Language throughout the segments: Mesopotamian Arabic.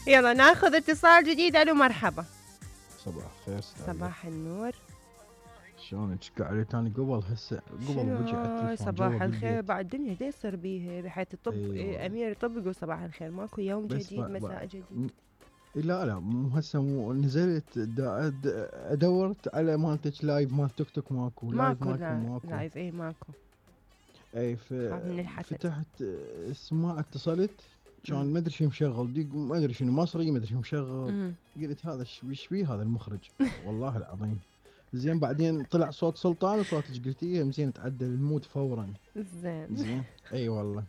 يلا ناخذ اتصال جديد. الو مرحبا. صباح الخير. صباح النور. شلونك؟ قاعد تاني قبل هسه قبل وجي على التليفون. صباح الخير. بعد الدنيا دا يصير بيها بحيث الطب. أيوة. امير الطب يقول صباح الخير، ماكو يوم جديد مساء جديد. لا مو هسه، مو نزلت ادورت على مالتك لايف مال تيك توك ماكو لايف اي ماكو. اي فتحت السماعه اتصلت كان ما ادري شو مشغل، ما ادري شنو مصري، ما ادري شو مشغل. قلت هذا ايش فيه هذا المخرج والله العظيم. زين بعدين طلع صوت سلطان وصوتك، قلت ايه زين تعدل المود فورا. زين اي والله.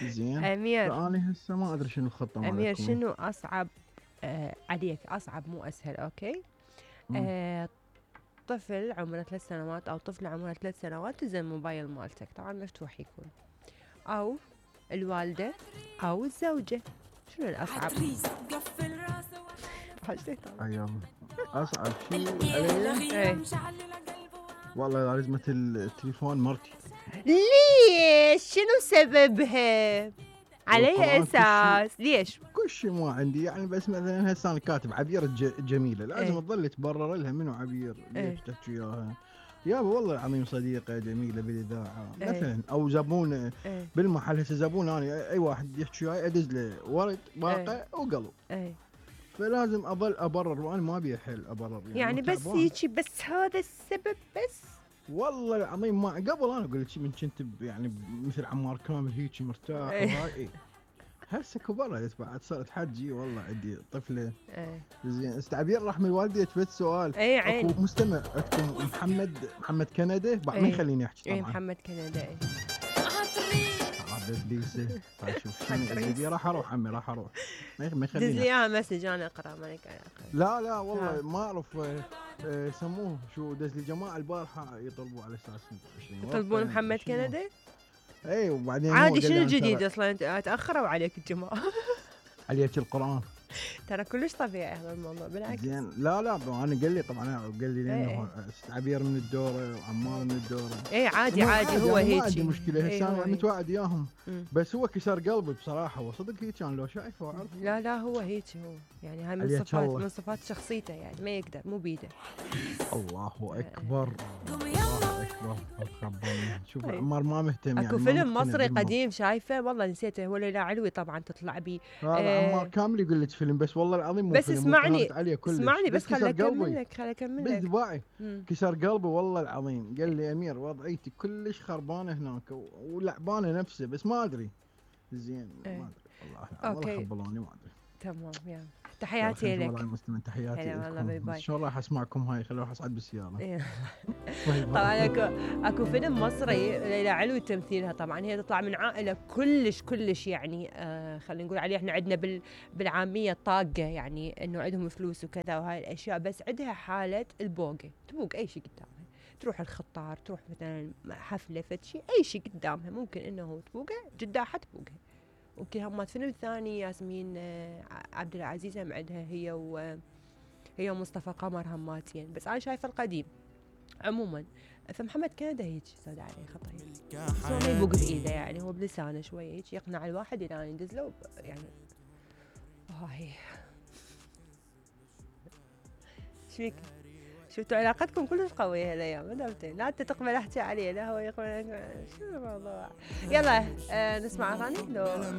زين امير، فاني هسه ما ادري شنو الخطه مالتكم. امير شنو اصعب عليك؟ اصعب مو اسهل. اوكي. طفل عمره 3 سنوات او طفله عمرها 3 سنوات تزن موبايل مالتك، طبعا مفتوح يكون، او الوالده او الزوجه، شنو الاصعب؟ ايوه اصعب شيء علي والله لازمة التليفون مرتي. ليش؟ شنو سببها؟ على اي اساس؟ ليش؟ كل شيء ما عندي يعني، بس مثلا هسه انا كاتب عبير جميلة لازم تظل تبرر لها منو عبير، ليش تحكي اياها؟ يابا والله العظيم صديقة جميلة بالاذاعة مثلا، او زبون بالمحل. هسه زبون انا اي واحد يحكي وياي ادز له ورد باقة وقلب. فلازم اظل ابرر، وانا ما ابي حل ابرر يعني بس هيجي، بس هذا السبب بس. والله العظيم ما قبل انا اقول لك من كنت يعني مثل عمار كامل هيك مرتاح وهاي. هسه كبرت بعد صرت حجي والله عندي طفله. زين استعبير رحم الوالده بس سؤال. اكو مستمع عندكم محمد كندا بعد ما يخليني احكي طبعا. محمد كندا ابليسه. شوف شنو راح اروح عمي، راح اروح ما يخليني. دز لي اياها مسج انا اقرا مالك اقرا. لا والله ما اعرف سموه شو. دز لي جماعه البارحه يطلبوا على اساس يطلبون محمد كندا. اي وبعدين عادي شنو الجديد اصلا؟ تاخروا عليك الجماعه. عليك القران ترى كلش طبيعي هذا الموضوع بالعكس. زين لا انا قال لي طبعا، قال لي لانه عبير من الدوره وعمار من الدوره. عادي هو هيك ما عندي مشكله. هسه انا متوعد اياهم. بس هو كسر قلبي بصراحه، وصدق هيك كان لو شايفه واعرف. لا هو هيك هو يعني، هاي من صفات شخصيته يعني، ما يقدر مو بيده. الله اكبر الله اكبر. شوف عمار ما مهتم يعني. اكو فيلم مصري قديم شايفه والله نسيته، هو ليلى علوي طبعا تطلع بيه. عمار كامل يقول لك فيلم، بس والله العظيم مو بس فيلم. اسمعني بس خليني اكمل لك بس دباعي كسر قلبي والله العظيم. قال لي امير وضعيتي كلش خربانه هناك ولعبانه نفسه، بس ما ادري. زين ما ادري والله خبلوني ما ادري. تمام يا تحياتي لك. والله المستمعين تحياتي هلا والله باي باي. ان شاء الله راح اسمعكم هاي، خليني اروح اصعد بالسياره. طبعا اكو فيلم مصري ليلى علوي تمثيلها، طبعا هي تطلع من عائله كلش يعني خلينا نقول عليه احنا عندنا بالعاميه طاقه، يعني انه عندهم فلوس وكذا وهاي الاشياء، بس عندها حاله البوقه، تبوق اي شيء قدامها، تروح الخطار، تروح مثلا حفله فد شيء، اي شيء قدامها ممكن انه تبوقه جداحه تبوقها. ويمكن هم فيلم ثاني ياسمين عبد العزيز هم عندها هي ومصطفى قمر هماتين، بس انا شايفه القديم. عموما فمحمد كندا هيك صاد عليه خطا، بس هو ما يبوق بايده يعني، هو بلسانه شويه هيك يقنع الواحد الى يدز له يعني. هاي شفيك؟ شفتوا علاقتكم كلش قويه هالايام، لا انت تقبل احكي عليه لا هو يقبل. شنو الموضوع؟ يلا نسمع اغاني لو